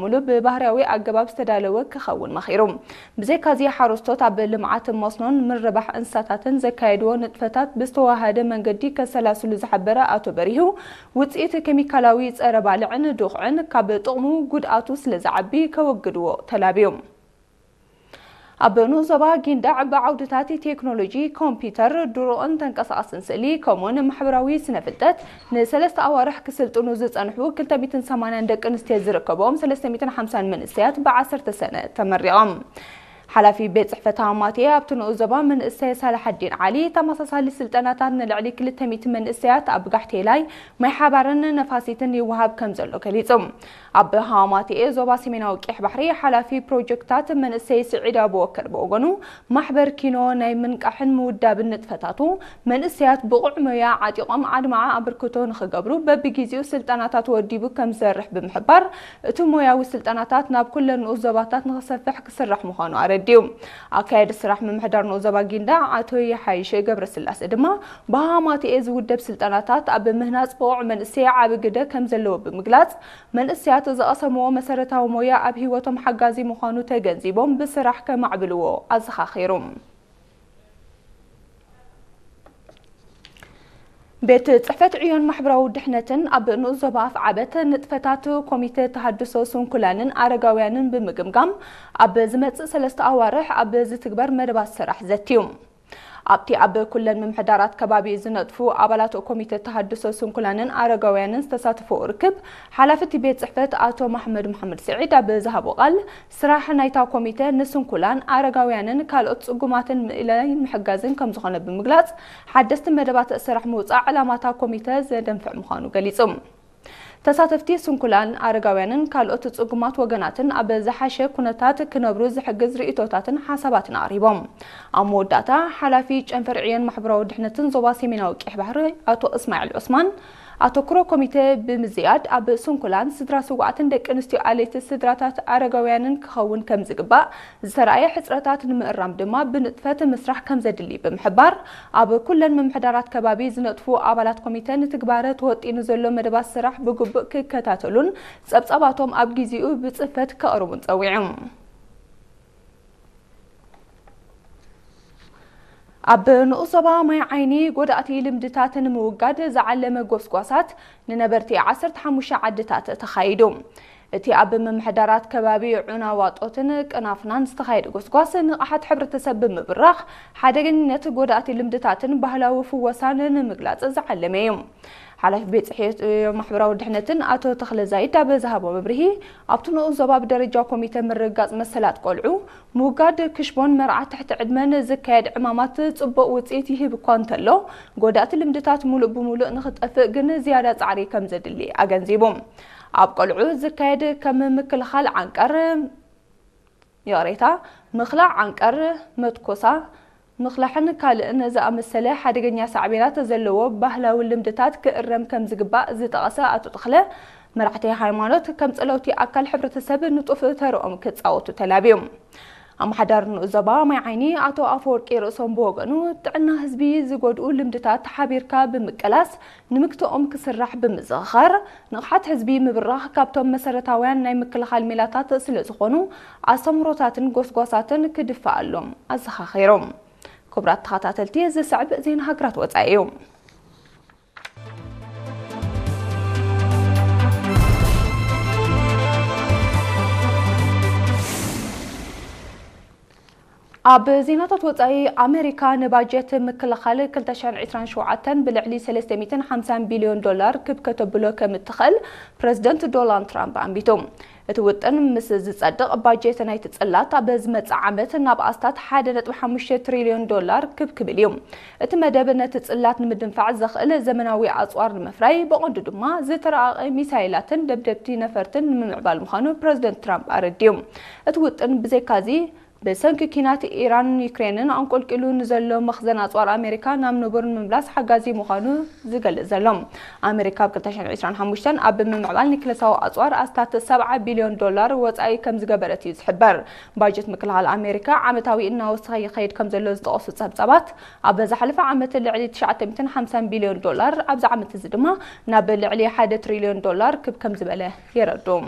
ሙሉ ብባህርያዊ ኣገባብ ዝተዳለወ ክኸውን መኺሩ። ብዘይካዚ ሓረስቶት ኣብ ልምዓት መስኖን ምርባሕ እንስሳታትን ዘካየድዎ ንጥፈታት ብዝተዋሃደ መንገዲ ከሰላስሉ ዝሓበረ ኣቶ በሪሁ፣ ውፅኢት ኬሚካላዊ ጸረ ባልዕን ዱኽዕን ካብ ጥቕሙ ጉድኣቱ ስለ ዝዓቢ ከወግድዎ ተላብዮም። ኣብ ንኡስ ዞባ ጊንዳዕ ብዓውድታት ቴክኖሎጂ፣ ኮምፒውተር፣ ድሮን፣ ተንቀሳቓስን ስእሊ ከምኡውን ማሕበራዊ ስነ ፍልጠት ንሰለስተ ኣዋርሕ ክስልጥኑ ዝጸንሑ ክልተ ሚእትን ሰማንያን ደቂ ኣንስትዮ ዝርከብኦም ሰለስተ ሚእትን ሓምሳን መንእሰያት ብዓሰርተ ሰነ ተመሪቖም። ሓላፊ ቤት ጽሕፈት ሃማቴ ኣብቲ ንኡስ ዞባ መንእሰይ ሳላሓዲን ዓሊ፣ ተመሳሳሊ ስልጠናታት ንልዕሊ ክልተ ሚእቲ መንእሰያት ኣብ ጋሕቴላይ፣ ማይ ሓባርን ነፋሲትን ይወሃብ ከም ዘሎ ገሊጹ። ኣብ ሃማቴ ዞባ ሰሜናዊ ቀይሕ ባሕሪ ሓላፊ ፕሮጀክታት መንእሰይ ስዒድ ኣቡበከር ብወገኑ፣ ማሕበር ኪኖ ናይ ምንቃሕን ምውዳብን ንጥፈታቱ መንእሰያት ብቑዕ ሞያ ዓጢቖም ኣድማዒ ኣበርክቶ ንኽገብሩ በብግዜኡ ስልጠናታት ወዲቡ ከም ዝሰርሕ ብምሕባር፣ እቲ ሞያዊ ስልጠናታት ናብ ኩለን ንኡስ ዞባታት ንኽሰፍሕ ክስራሕ ምዃኑ ኣረዲኡ። ኣካያዲ ስራሕ ምምሕዳር ንኡስ ዞባ ጊንዳዕ ኣቶ የሓይሽ ገብረስላሴ ድማ፣ ብሃማቴ ዝውደብ ስልጠናታት ኣብ ምህናጽ ብቑዕ መንእሰይ ዓቢ ግደ ከም ዘለዎ ብምግላጽ፣ መንእሰያት ዝቐሰምዎ መሰረታዊ ሞያ ኣብ ህይወቶም ሓጋዚ ምዃኑ ተገንዚቦም ብስራሕ ከማዕብልዎ ኣዘኻኺሩ። ቤት ጽሕፈት ዕዮን ማሕበራዊ ድሕነትን ኣብ ንኡስ ዞባ ኣፍዓበት ንጥፈታት ኮሚተ ተሃድሶ ስንኩላንን ኣረጋውያንን ብምግምጋም፣ ኣብ ዝመጽእ ሰለስተ ኣዋርሕ ኣብ ዝትግበር መደባት ስራሕ ዘትዩ። ኣብቲ ኣብ ኩለን ምምሕዳራት ከባቢ ዝነጥፉ ኣባላት ኮሚተ ተሃድሶ ስንኩላንን ኣረጋውያንን ዝተሳተፎ ርክብ፣ ሓላፊ እቲ ቤት ጽሕፈት ኣቶ መሓመድ መሓመድ ስዒድ ኣብ ዝሃቦ ቃል፣ ስራሕ ናይታ ኮሚተ ንስንኩላን፣ ኣረጋውያንን ካልኦት ጽጉማትን ምእላይ ምሕጋዝን ከም ዝኾነ ብምግላጽ፣ ሓደስቲ መደባት ስራሕ ምውጻእ ዕላማታ ኮሚተ ዘደንፍዕ ምዃኑ ገሊጹ። ተሳተፍቲ ስንኩላን፣ ኣረጋውያንን ካልኦት ጽጉማት ወገናትን ኣብ ዝሓሸ ኩነታት ክነብሩ ዝሕግዝ ርእይቶታትን ሓሳባትን ኣቕሪቦም። ኣብ መወዳእታ፣ ሓላፊ ጨንፈር ዕዮን ማሕበራዊ ድሕነትን ዞባ ሰሜናዊ ቀይሕ ባሕሪ ኣቶ እስማዒል ዑስማን፣ ኣተኩሮ ኮሚተ ብምዝያድ ኣብ ስንኩላን፣ ስድራ ስውኣትን ደቂ ኣንስትዮ ኣለይቲ ስድራታት ኣረጋውያንን ክኸውን ከም ዝግባእ ዝተራእየ ሕጽረታት ንምእራም ድማ ብንጥፈት ምስራሕ ከም ዘድሊ ብምሕባር፣ ኣብ ኩለን ምምሕዳራት ከባቢ ዝነጥፉ ኣባላት ኮሚተ ንትግባረ ተወጢኑ ዘሎ መደባት ስራሕ ብግቡእ ክከታተሉን ጸብጻባቶም ኣብ ግዜኡ ብጽፈት ከቕርቡን ጸዊዑ። ኣብ ንኡስ ዞባ ማይ ዓይኒ ጎዳእቲ ልምድታት ንምውጋድ ዝዓለመ ጎስጓሳት ንነበርቲ ዓሰርተ ሓሙሽተ ዓድታት ተኻይዱ። እቲ ኣብ ምምሕዳራት ከባቢ ዑና ዋጦትን ቅናፍናን ዝተኻየደ ጎስጓስ ንቕሓት ሕብረተሰብ ብምብራኽ፣ ሓደገኝነት ጎዳእቲ ልምድታትን ባህላዊ ፍወሳን ንምግላጽ ዝዓለመ እዩ። ሓላፊ ቤት ጽሕፈት ማሕበራዊ ድሕነትን ኣቶ ተኽለ ዛይድ ኣብ ዝሃቦ መብርሂ፣ ኣብቲ ንኡስ ዞባ ብደረጃ ኮሚተ ምርግጋጽ መሰላት ቆልዑ፣ ምውጋድ ክሽቦን መርዓ ትሕቲ ዕድመን ዝካየድ ዕማማት ጽቡቕ ውጽኢት ይህብ እኳ እንተሎ፣ ጎዳእቲ ልምድታት ሙሉእ ብሙሉእ ንኽጠፍእ ግን ዝያዳ ጻዕሪ ከም ዘድሊ ኣገንዚቡ። ኣብ ቆልዑ ዝካየድ ከም ምክልኻል ዓንቀር፣ ይቕሬታ፣ ምኽላዕ ዓንቀር፣ መትኮሳ፣ ምኽላሕን ካልእን ዝኣመሰለ ሓደገኛ ሳዕቤናት ዘለዎ ባህላዊ ልምድታት ክእረም ከም ዝግባእ ዝጠቐሰ ኣቶ ተኽለ፣ መራሕቲ ሃይማኖት ከም ጸለውቲ ኣካል ሕብረተሰብ ንጡፍ ተርኦም ክጻወቱ ተላብዮም። ኣመሓዳሪ ንኡስ ዞባ ማይ ዓይኒ ኣቶ ኣፈወርቂ ርእሶም ብወገኑ፣ ጥዕና ህዝቢ ዝጎድኡ ልምድታት ሓቢርካ ብምቅላስ ንምግትኦም ክስራሕ ብምዝኽኻር፣ ንቕሓት ህዝቢ ምብራኽ ካብቶም መሰረታውያን ናይ ምክልኻል ሜላታት ስለ ዝኾኑ፣ ኣስተምህሮታትን ጎስጓሳትን ክድፋኣሎም ኣዘኻኺሮም። ክቡራት ተኸታተልቲ፣ ዝስዕብ ዜና ሃገራት ወጻኢ እዩ። ኣብ ዜናታት ወጻኢ፣ ኣሜሪካ ንባጀት ምክልኻል ክልተ ሽሕን ዕስራን ሸውዓተን ብልዕሊ ሰለስተ ሚእትን ሓምሳን ቢልዮን ዶላር ክብ ከተብሎ ከም እትኽእል ፕረዚደንት ዶናልድ ትራምፕ ኣንቢቱ። እቲ ውጥን ምስ ዝጸድቕ፣ ባጀት ናይቲ ጽላት ኣብ ዝመጽእ ዓመት ናብ ኣስታት ሓደ ነጥቢ ሓሙሽተ ትሪልዮን ዶላር ክብ ክብል እዩ። እቲ መደብ ነቲ ጽላት ንምድንፋዕ ዘኽእል ዘመናዊ ኣጽዋር ንምፍራይ፣ ብቐንዱ ድማ ዝተራቐቐ ሚሳይላትን ደብደብቲ ነፈርትን ንምምዕባል ምዃኑ ፕረዚደንት ትራምፕ ኣረዲኡ። እቲ ውጥን ብዘይካዚ፣ ብሰንኪ ኲናት ኢራንን ዩክሬንን ኣንቆልቂሉ ንዘሎ መኽዘን ኣጽዋር ኣሜሪካ ናብ ንቡር ንምምላስ ሓጋዚ ምዃኑ ዝገልጽ ዘሎ። ኣሜሪካ ኣብ ክልተ ሽሕን ዕስራን ሓሙሽተን ኣብ ምምዕባል ኒክለሳዊ ኣጽዋር ኣስታት ሰብዓ ቢልዮን ዶላር ወጻኢ ከም ዝገበረት እዩ ዝሕበር። ባጀት ምክልኻል ኣሜሪካ ዓመታዊ እናወሰኸ ይኸይድ ከም ዘሎ ዝጠቐሱ ጸብጻባት፣ ኣብ ዝሓለፈ ዓመት ልዕሊ ትሽዓተ ሚእትን ሓምሳን ቢልዮን ዶላር፣ ኣብዚ ዓመት እዚ ድማ ናብ ልዕሊ ሓደ ትሪልዮን ዶላር ክብ ከም ዝበለ የረድኡ።